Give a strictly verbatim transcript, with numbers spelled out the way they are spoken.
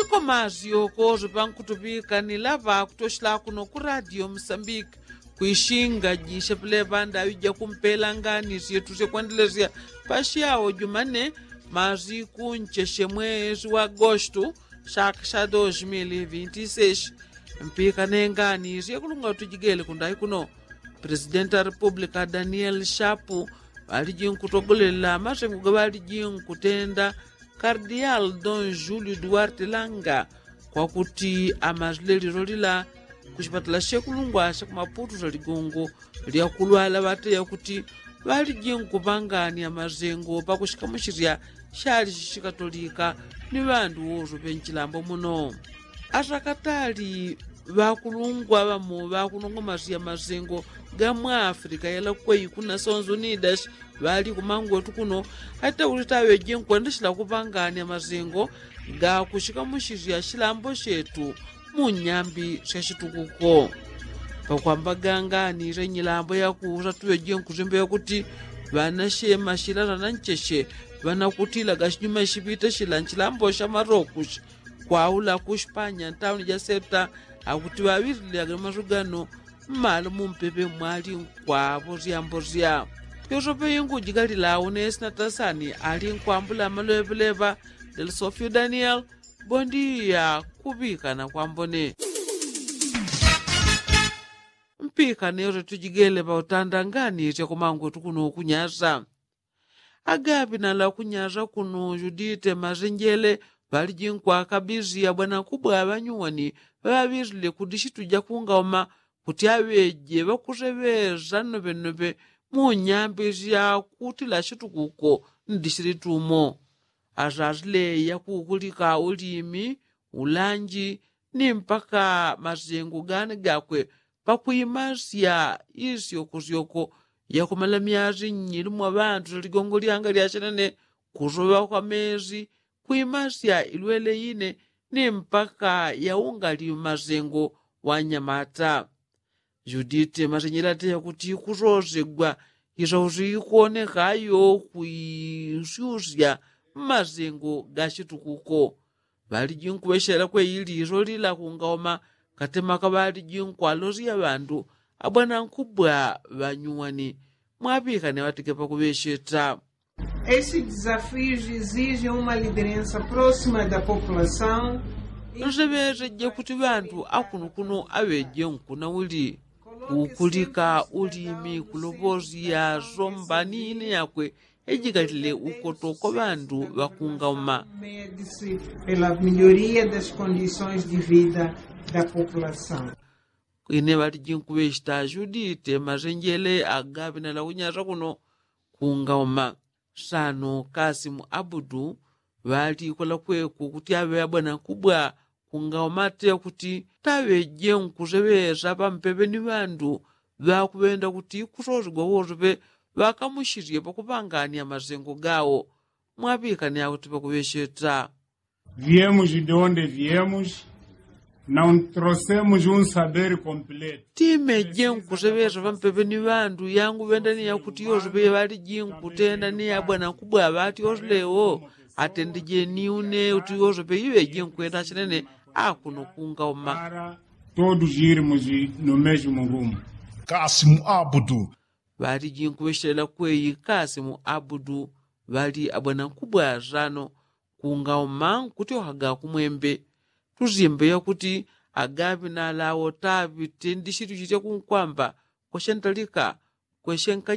Iko mazi yokozo pankutuŵika ni laŵa kutoshela kuno ku radio musambiki. Kwishinga jisha pilepanda aŵija kumpela ngani syetu syekwendelesya. Pasyawo jumane mazi kuncheshe mwezi wa agostu shaka sha dos mil vinti seshi. Mpika nengani syekulunga tujigele kundayi kuno. Presidenti wa republika daniel shapu ŵaliji nkutogolela masengo gaŵaliji nkutenda kardial don julio duarte langa kwakuti amazilelilo lila kushipatala shekulungwa shakumaputu sha ligongo lyakulwala ŵateya kuti ŵaliji nkuŵangania masengo pakushikamushilya shali shishikatolika ni ŵandu woso ŵenchilambo muno. Atakatali ŵakulungwa ŵamo ŵakunongomasya masengo ga mwa afrika yalakweyi kuna sonso nidashi ŵali kumangwetu kuno. Ate kuti taŵeje nkwendeshela kupangania masengo gakushikamushisya shilambo shetu mu nyambi sya shitukuko. Pakwambaga ngani sya nyilambo yakusa tuŵeje nkusimba yakuti ŵanashema shilala na ncheshe ŵanakutilaga shinyuma shiŵite shila nchilambo sha marokushi kwaula ku shipanya ntauni ja septa. Akuti ŵaŵilile agano masu gano mmalo mumpepe mwali nkwapo syambo sya yosope ingujigalila une sinatasani ali nkwambula amaloŵeŵeleŵa. Del sofio daniel bondiya kuŵikana kwambone. Mpikane yote tujigele pautanda ngani syakumangwetu kuno kunyasa. Agaŵinala kunyasa kuno judite masenjele ŵaliji nkwakabisi abwana kubwa ŵanyuwani ŵaŵilile kudishitu jakungauma kuti aŵeje ŵakuseŵesa nnoŵennoŵe mu nyambi syakutila shitukuko ndishilitumo. Asasile yakukulika ulimi ulanji ni mpaka masengo gani gakwe pakwimasya isyokosyoko yakumala myasi nnyili mwa ŵandu syaligongo lyanga lyachinene kusoŵa kwa mesi kwimasya ilwele ine ni mpaka yaungali masengo wanyamata. Judite masenyela teya kuti kusosegwa isausi ikonekayo kuisyusya mmasengo ga shitukuko. Ŵaliji nkuŵeshela kweili iso lila kungauma katemaka ŵaliji nkwalosya ŵandu abwana nkubwa ŵanyuwani. Mwaŵikane ŵatike pakuŵesheta. Esse desafio exige uma liderança próxima da população. Nseŵeseje kuti ŵandu akunukuno aŵeje nkuna uli kukulika ulimi kuloŵosya somba ni ine yakwe ejikalile ukoto kwa ŵandu ŵakungauma. Pela melhoria das condições de vida da população. Ine ŵaliji nkuŵesheta judite masenjele agaŵinala kunyasa kuno kungauma. Sano kasimu abudu ŵalikola kweku kuti aŵe abwana kubwa kungauma ate kuti taŵeje nkuseŵesa pampeŵe ni ŵandu ŵakuŵenda kuti kusosigwa wosoŵe ŵakamushisye pakuŵangania masengo gawo. Mwaŵikane akuti pakuŵesheta. Viemos de onde viemos. Não trouxemos um saber completo. Timeje nkuseŵesa pampeŵe ni ŵandu yangu ŵenda ni yakuti yosoŵe ŵaliji nkutenda ni abwana kubwa ŵati yosolewo atendejeni une uti yosoŵe iŵeje nkwenda chinene akuno kungauma. Para todos irmos no mesmo rumo. Kasimu abudu. Ŵaliji nkuŵeshelela kweyi kasimu abudu ŵali abwana nkubwa sano kungauma nkutyohaga kumwembe. Tusyembe yakuti agaŵinala awo taŵite ndishitu shitya kunkwamba kweshentalika kweshenka.